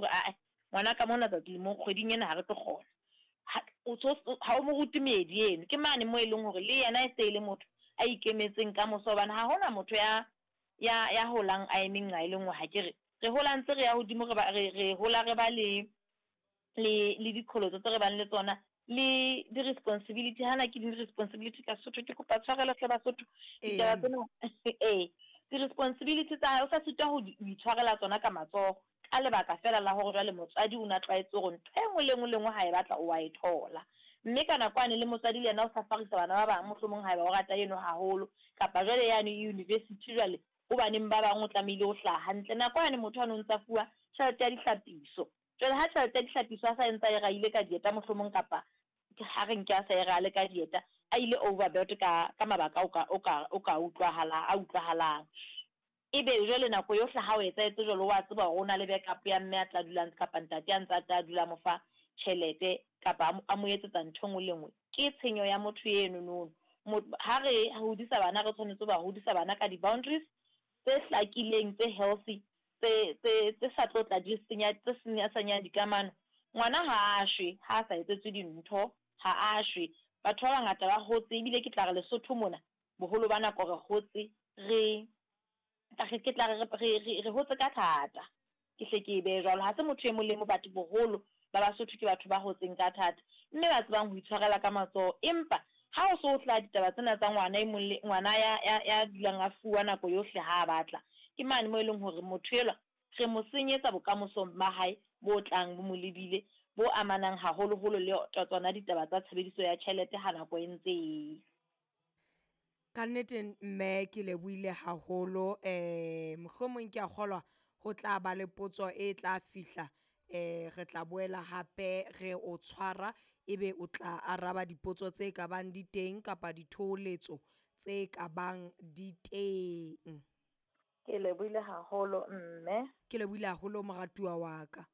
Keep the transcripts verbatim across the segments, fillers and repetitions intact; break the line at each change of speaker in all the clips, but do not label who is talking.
hore ae ngwana ka mona tsatsi le mong kgweding ena ha re tlo kgona. Ha o mo rute meedi eno, ke mane moo e leng hore le yena e se e le motho a ikemetseng ka moso, hobane ha hona motho ya ya ya holang a eme nqa e le nngwe. Ha ke re re hola ntse re ya hodimo, re ba re re hola re ba le le le diqholotso tse re bang le tsona le di-responsibility. Hana ke di-responsibility ka Sesotho, ke kopa tshwarelo hle Basotho. Ditaba tsena ee di-responsibility tsa hae o sa sitwa ho itshwarela tsona ka matsoho, ka lebaka fela la hore jwale motswadi o na tlwaetse hore ntho e nngwe le nngwe le nngwe ha e batla o wa e thola. Mme ka nako yane le motswadi le yena o safarisa bana ba bang, mohlomong haeba o rata eno haholo, kapa jwale yane university jwale ho baneng ba bang o tlamehile ho hlaha hantle. Nako yane motho ane o ntsa fuwa tjhelete ya dihlapiso, jwale ha tjhelete ya dihlapiso a sa entse a e rahile ka dieta mohlomong, kapa ha re nke a sa e rale ka dieta, a ile overboard ka ka mabaka o ka o ka o ka utlwahala a utlwahalang. Ebe jwale nako yohle ha o etsahetse jwalo, wa tseba hore o na le backup ya mme a tla dulang kapa ntate a ntse a tla dula mo fa tjhelete kapa a mo etsetsa ntho e nngwe le nngwe. Ke tshenyo ya motho eno no. Ha re hodisa bana, re tshwanetse ho ba hodisa bana ka di-boundaries tse hlakileng, tse healthy, tse tse tse sa tlo tla di senya, tse senya senyang dikamano. Ngwana ha a shwe ha a sa etsetswe dintho, ha a shwe. Batho ba bangata ba hotse, ebile ke tla re Lesotho mona boholo ba nako re hotse re ke tla re re re hotse ka thata, ke hle ke e behe jwalo. Ha se motho e mong le mong, but boholo ba Basotho ke batho ba hotseng ka thata, mme ba tsebang ho itshwarela ka matsoho. Empa ha o so hlaha ditaba tsena tsa ngwana e mong le ngwana ya ya ya dulang a fuwa nako yohle ha a batla, ke mane moo e leng hore motho elwa re mo senyetsa bokamosong ba hae bo tlang bo mo lebile, bo amanang haholoholo le tsona ditaba tsa tshebediso ya tjhelete ha nako e ntse e.
Ka nnete mme ke lebohile haholo, eh mohlomong ke a kgolwa ho tla ba le potso e tla fihla, eh re tla boela hape re o tshwara, ebe o tla araba dipotso tse ka bang di teng kapa dithoholetso tse ka bang di teng.
Ke lebohile haholo mme.
Ke lebohile haholo moratuwa wa ka.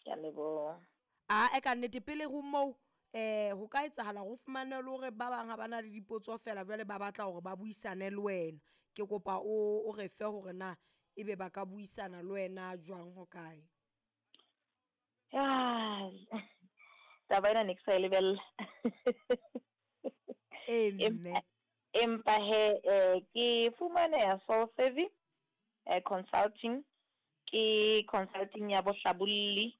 Ke a leboha.
A e ka nnete pele ho moo eh ho ka etsahala hore o fumane le hore ba bang ha ba na le dipotso fela jwale ba batla hore ba buisane le wena. Ke kopa o o re fe hore na ebe ba ka buisana le wena jwang ho kae.
Taba ena ne ke sa e lebella.
Ee mme.
Empa he eh ke fumaneha Soul Savvy eh Consulting, ke consulting ya bohlabolli,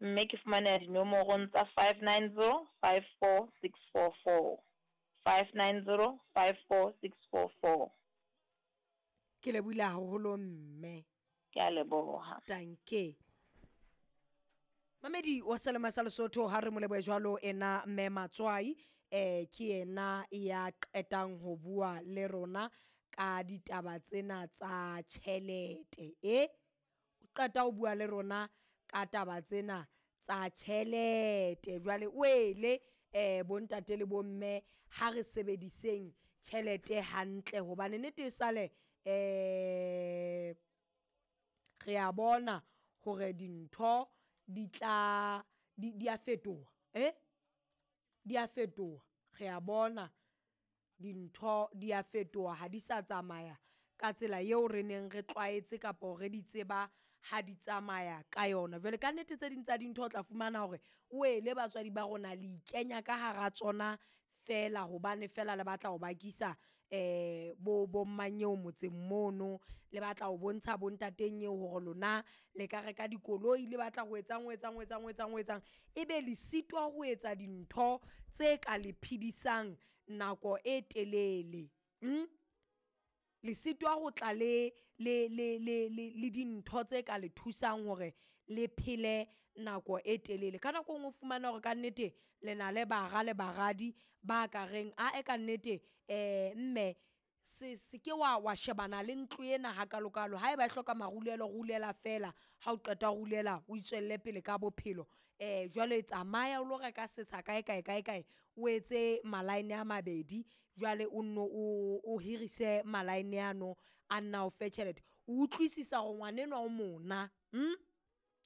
mme ke fumaneha dinomorong tsa five nine zero five four six four four, five nine zero five four six four four.
Ke lebohile haholo mme.
Ke a leboha.
Danke. Mamedi wa Selema sa Lesotho, ha re mo lebohe jwalo ena mme Matswai, eh ke yena ya qetang ho bua le rona ka ditaba tsena tsa tjhelete. E o qeta ho bua le rona ka taba tsena tsa tjhelete. Jwale o ele eh bontate le bomme, ha re sebediseng tjhelete hantle, hobane nnete e sale eh re a bona hore dintho di tla di di a fetoha, eh di a fetoha. Re a bona dintho di a fetoha, ha di sa tsamaya ka tsela eo re neng re tlwaetse kapa re di tseba ha di tsamaya ka yona. Jwale ka nnete tse ding tsa dintho o tla fumana hore o ele batswadi ba rona le ikenya ka hara tsona fela, hobane fela le batla ho bakisa eh bo bo mmanyeo motseng mono, le batla ho bontsha bo ntateng eo hore lona le ka reka dikoloi, le batla ho etsang ho etsang ho etsang ho etsang ho etsang, ebe le sitwa ho etsa dintho tse ka le phedisang nako e telele. Mm? Le sitwa ho tla le le le le le le dintho tse ka le thusang hore le phele nako e telele. Ka nako e nngwe o fumana hore kannete le na le bara le baradi ba ka reng ae kannete eh mme se se ke wa wa shebana le ntlo ena hakalokalo, haeba e hloka marulelo rulela fela, ha o qeta ho rulela o itswelle pele ka bophelo. Eh jwale tsamaya o lo reka setsha kae kae kae kae, o etse malaene a mabedi, jwale o nno o o hirise malaene ano a nna o fe tjhelete. O utlwisisa hore ngwanenwa o mona, mm?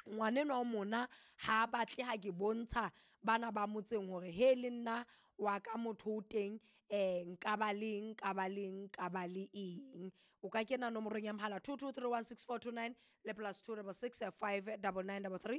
Ngwanenwa o mona ha batle ha ke bontsha bana ba motseng hore he le nna wa ka motho o teng, eh nka ba le eng, nka ba le eng, nka ba le eng. O ka kena nomorong ya mohala two two three one six four two nine le plus two double six five double nine double three.